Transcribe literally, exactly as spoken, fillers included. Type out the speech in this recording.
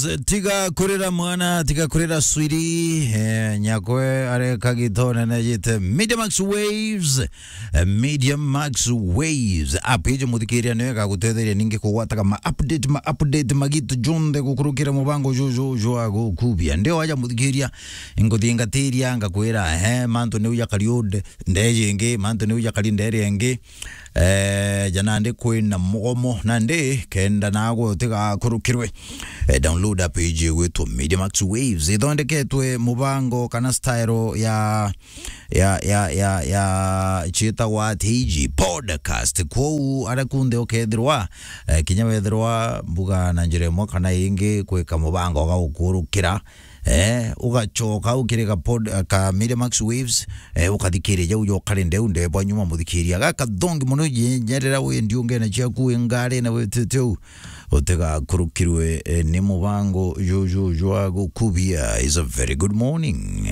Tiga kurira mwana, tiga kurira swiri. Eh, nyakwe areka gitone na jite Media Max Waves. Eh, Media Max Waves. App iji muthikiria niyo igagutetheria ningi kugwataga ma update, ma update magitu jonthe gukurukira mubango juju jwa gukubia. Ndio aja muthikiria, nguthiingatiria, ngakwira, eh, mantu niu jakari ude, ndeji ingi, mantu niu jakari nderi ingi. Eh, ja nandi kwina mugomo, nandi kenda nagwe utigakurukirwe. Eh, download app iji igwitwo Media Max Waves. Ithondeketwe mubango kana style ya, ya, ya, ya, ya, ciitagwa ati iji podcast. Kwou aria kunthe ukethirwa, eh, kinya wethirwa mbuga na njira imwe kana ingi kwika mubango ga gukurukira, eh, ugacoka ukirika pod-, ka Media Max Waves, eh, ukathikiria jau jo kari ndeu ndebwa nyuma muthikiria. Gaka thongi mono, nyerera wi ndiungene ciaku wi ngari na witite u. Utigakurukirwe, eh, ni mubango juju jwa gukubia. Is a very good morning.